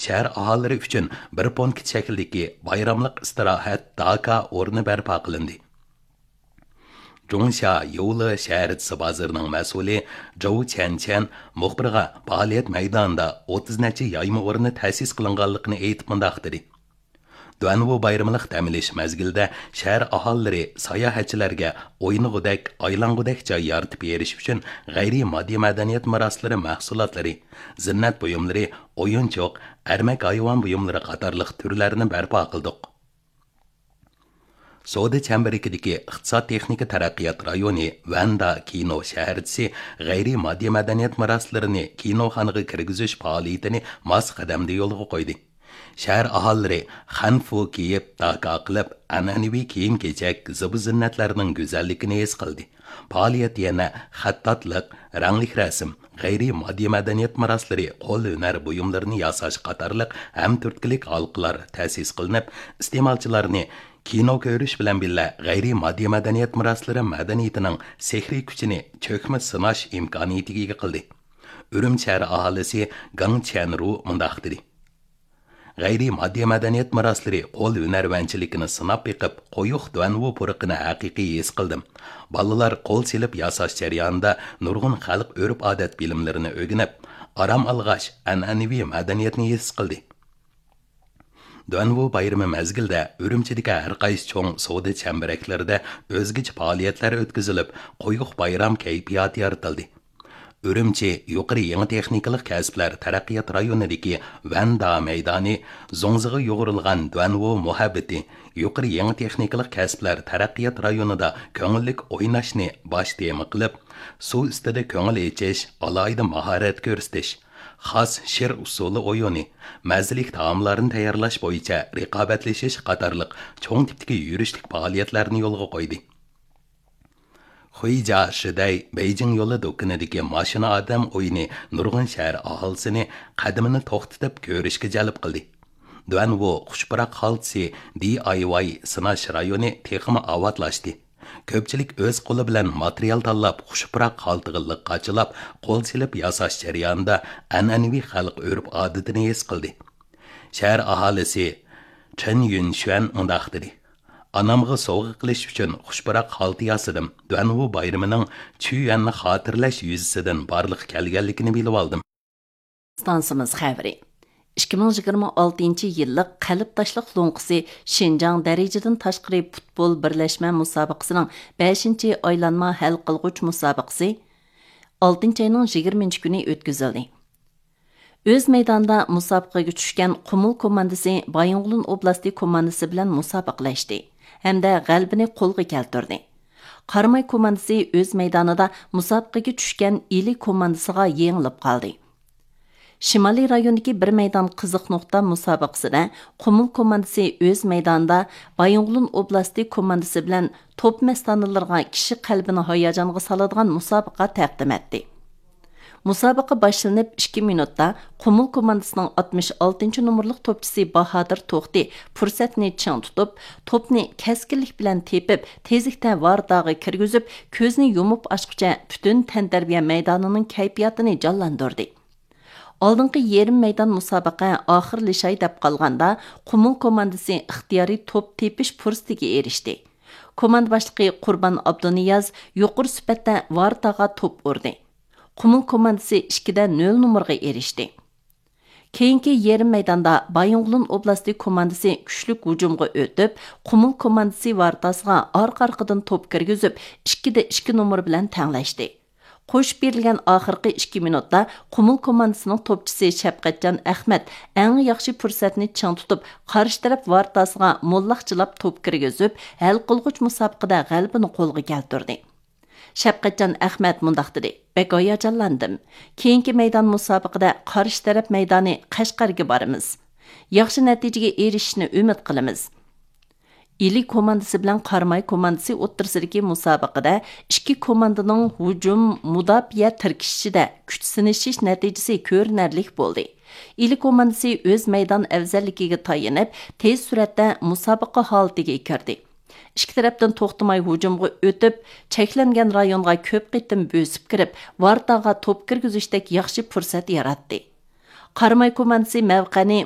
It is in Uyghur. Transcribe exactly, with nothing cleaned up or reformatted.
شەھەر ئاھالىلىرى ئۈچۈن بىر پونكىت شەكلىدىكى بايراملىق ئىستىراھەت داكا ئورنى بەرپا قىلىندى. جۇڭشيا يولى شەھەرچىسى بازىرىنىڭ مەسئۇلى جوۋ چيەنچيەن مۇخبىرغا پائالىيەت مەيدانىدا ئوتتۇز نەچچە يايما ئورنى تەسىس قىلىنغانلىقىنى ئېيتىپ مۇنداق دېدى: دۇەنۋۇ بايرىملىق دەم ئېلىش مەزگىلىدە شەھەر ئاھالىلىرى ساياھەتچىلەرگە ئوينىغۇدەك، ئايلانغۇدەك جاي يارىتىپ بېرىش ئۈچۈن غەيرىي ماددىي مەدەنىيەت مىراسلىرى مەھسۇلاتلىرى، زىننەت بۇيۇملىرى، ئويۇنچۇق، ئەرمەك ھايۋان بۇيۇملىرى قاتارلىق تۈرلەرنى بەرپا قىلدۇق. سودا چەمبىرىكىدىكى ئىقتىساد تېخنىكا تەرەققىيات رايونى ۋەندا كىنو شەھەرچىسى غەيرىي ماددىي مەدەنىيەت مىراسلىرىنى كىنوخانىغا كىرگۈزۈش پائالىيىتىنى ماس قەدەمدە يولغا قويدى. شەھەر ئاھالىلىرى خەنفۇ كىيىپ، داكا قىلىپ، ئەنئەنىۋى كىيىم-كېچەك، زىبۇ-زىننەتلەرنىڭ گۈزەللىكىنى ھېس قىلدى. پائالىيەت يەنە خەتتاتلىق، رەڭلىك رەسىم، غەيرىي ماددىي مەدەنىيەت مىراسلىرى، قول ھۈنەر بۇيۇملىرىنى ياساش قاتارلىق ھەمتۈرتكىلىك ھالقىلار تەسىس قىلىنىپ، ئىستېمالچىلارنى كىنو كۆرۈش بىلەن بىللە، غەيرىي ماددىي مەدەنىيەت مىراسلىرى مەدەنىيىتىنىڭ سېھرىي كۈچىنى چۆكمە سىناش ئىمكانىيىتىگە ئىگە قىلدى. ئۈرۈمچى شەھەر ئاھالىسى گاڭ چيەنرۇ مۇنداق دېدى: غەيرىي ماددىي مەدەنىيەت مىراسلىرى قول ھۈنەرۋەنچىلىكىنى سىناپ بېقىپ، قويۇق دۇەنۋۇ پۇرىقىنى ھەقىقىي ھېس قىلدىم. بالىلار قول سېلىپ ياساش جەريانىدا نۇرغۇن خەلق ئۆرپ-ئادەت بىلىملىرىنى ئۆگىنىپ، ئارام ئالغاچ، ئەنئەنىۋى مەدەنىيەتنى ھېس قىلدى. دۇەنۋۇ بايرىمى مەزگىلىدە ئۈرۈمچىدىكى ھەر قايسى چوڭ سودا چەمبىرەكلىرىدە ئۆزگىچە پائالىيەتلەر ئۆتكۈزۈلۈپ، قويۇق بايرام كەيپىياتى يارىتىلدى. ئۈرۈمچى يۇقىرى يېڭى تېخنىكىلىق كەسىپلەر تەرەققىيات رايونىدىكى ۋەندا مەيدانى، زوڭزىغا يۇغۇرۇلغان دۇەنۋۇ مۇھەببىتى، يۇقىرى يېڭى تېخنىكىلىق كەسىپلەر تەرەققىيات رايونىدا كۆڭۈللۈك ئويناشنى باش تېما قىلىپ، سۇ ئۈستىدە كۆڭۈل ئېچىش، ئالاھىدە ماھارەت كۆرسىتىش، خاس شىر ئۇسسۇلى ئويۇنى، مەززىلىك تائاملارنى تەييارلاش بويىچە رىقابەتلىشىش قاتارلىق چوڭ تىپتىكى يۈرۈشلۈك پائالىيەتلەرنى يولغا قويدى. خۇيجيا شىدەي بېيجىڭ يولى دۇكىنىدىكى ماشىنا ئادەم ئويۇنى نۇرغۇن شەھەر ئاھالىسىنى قەدىمىنى توختىتىپ كۆرۈشكە جەلپ قىلدى. دۇەنۋۇ خۇش پۇراق خالتىسى دى ئاي ۋاي سىناش رايونى تېخىمۇ ئاۋاتلاشتى. كۆپچىلىك ئۆز قولى بىلەن ماتېرىيال تاللاپ، خۇش پۇراق خالتىغا لىق قاچىلاپ، قول سېلىپ ياساش جەريانىدا ئەنئەنىۋى خەلق ئۆرپ-ئادىتىنى ھېس قىلدى. شەھەر ئاھالىسى چېن يۈنشۈەن مۇنداق دېدى: ئانامغا سوۋغا قىلىش ئۈچۈن خۇش پۇراق خالتا ياسىدىم. دۇەنۋۇ بايرىمىنىڭ چۈيۈەننى خاتىرىلەش يۈزىسىدىن بارلىققا كەلگەنلىكىنى بىلىۋالدىم. ئىستانسىمىز خەۋىرى. ئىككى مىڭ يىگىرمە ئالتىنچى يىللىق قەلب تاشلىق لوڭقىسى شىنجاڭ دەرىجىدىن تاشقىرى پۇتبول بىرلەشمە مۇسابىقىسىنىڭ بەشىنچى ئايلانما ھەل قىلغۇچ مۇسابىقىسى ئالتىنچى ئاينىڭ يىگىرمىنچى كۈنى ئۆتكۈزۈلدى. ئۆز مەيدانىدا مۇسابىقىگە چۈشكەن قۇمۇل كوماندىسى بايىنغولىن ئوبلاستى كوماندىسى بىلەن مۇسابىقىلەشتى ھەمدە غەلىبىنى قولغا كەلتۈردى. قاراماي كوماندىسى ئۆز مەيدانىدا مۇسابىقىگە چۈشكەن ئىلى كوماندىسىغا يېڭىلىپ قالدى. شىمالىي رايوندىكى بىر مەيدان قىزىق نۇقتا مۇسابىقىسىدە قۇمۇل كوماندىسى ئۆز مەيدانىدا بايىنغولىن ئوبلاستى كوماندىسى بىلەن توپ مەستانىلىرىغا كىشى قەلبىنى ھاياجانغا سالىدىغان مۇسابىقە تەقدىم ئەتتى. مۇسابىقە باشلىنىپ ئىككى مىنۇتتا قۇمۇل كوماندىسىنىڭ ئاتمىش ئالتىنچى نومۇرلۇق توپچىسى باھادىر توختى پۇرسەتنى چىڭ تۇتۇپ، توپنى كەسكىنلىك بىلەن تېپىپ، تېزلىكتە ۋارتاغا كىرگۈزۈپ، كۆزنى يۇمۇپ ئاچقۇچە پۈتۈن تەنتەربىيە مەيدانىنىڭ كەيپىياتىنى جانلاندۇردى. ئالدىنقى يېرىم مەيدان مۇسابىقە ئاخىرلىشاي دەپ قالغاندا، قۇمۇل كوماندىسى ئىختىيارىي توپ تېپىش پۇرسىتىگە ئېرىشتى. كوماندا باشلىقى قۇربان ئابدۇنىياز يۇقىرى سۈپەتتە ۋارتاغا توپ ئۇردى. قۇمۇل كوماندىسى ئىككىدە نۆل نومۇرغا ئېرىشتى. كېيىنكى يېرىم مەيداندا بايىنغولىن ئوبلاستى كوماندىسى كۈچلۈك ھۇجۇمغا ئۆتۈپ، قۇمۇل كوماندىسى ۋارتاسىغا ئارقا-ئارقىدىن توپ كىرگۈزۈپ، ئىككىدە ئىككى نومۇر بىلەن تەڭلەشتى. قوشۇپ بېرىلگەن ئاخىرقى ئىككى مىنۇتتا قۇمۇل كوماندىسىنىڭ توپچىسى شەپقەتجان ئەخمەت ئەڭ ياخشى پۇرسەتنى چىڭ تۇتۇپ، قارشى تەرەپ ۋارتاسىغا موللاقچىلاپ توپ كىرگۈزۈپ، ھەل قىلغۇچ مۇسابىقىدە غەلىبىنى قولغا كەلتۈردى. شەپقەتجان ئەخمەت مۇنداق دېدى: بەك ھاياجانلاندىم. كېيىنكى مەيدان مۇسابىقىدە قارشى تەرەپ مەيدانى قەشقەرگە بارىمىز. ياخشى نەتىجىگە ئېرىشىشنى ئۈمىد قىلىمىز. ئىلى كوماندىسى بىلەن قاراماي كوماندىسى ئوتتۇرىسىدىكى مۇسابىقىدە ئىككى كوماندىنىڭ ھۇجۇم، مۇداپىئە تىركىشىشىدە كۈچ سىنىشىش نەتىجىسى كۆرۈنەرلىك بولدى. ئىلى كوماندىسى ئۆز مەيدان ئەۋزەللىكىگە تايىنىپ، تېز سۈرئەتتە مۇسابىقە ھالىتىگە كىردى. ئىككى تەرەپتىن توختىماي ھۇجۇمغا ئۆتۈپ، چەكلەنگەن رايونغا كۆپ قېتىم بۆسۈپ كىرىپ، ۋارتاغا توپ كىرگۈزۈشتەك ياخشى پۇرسەت ياراتتى. قاراماي كوماندىسى مەۋقەنى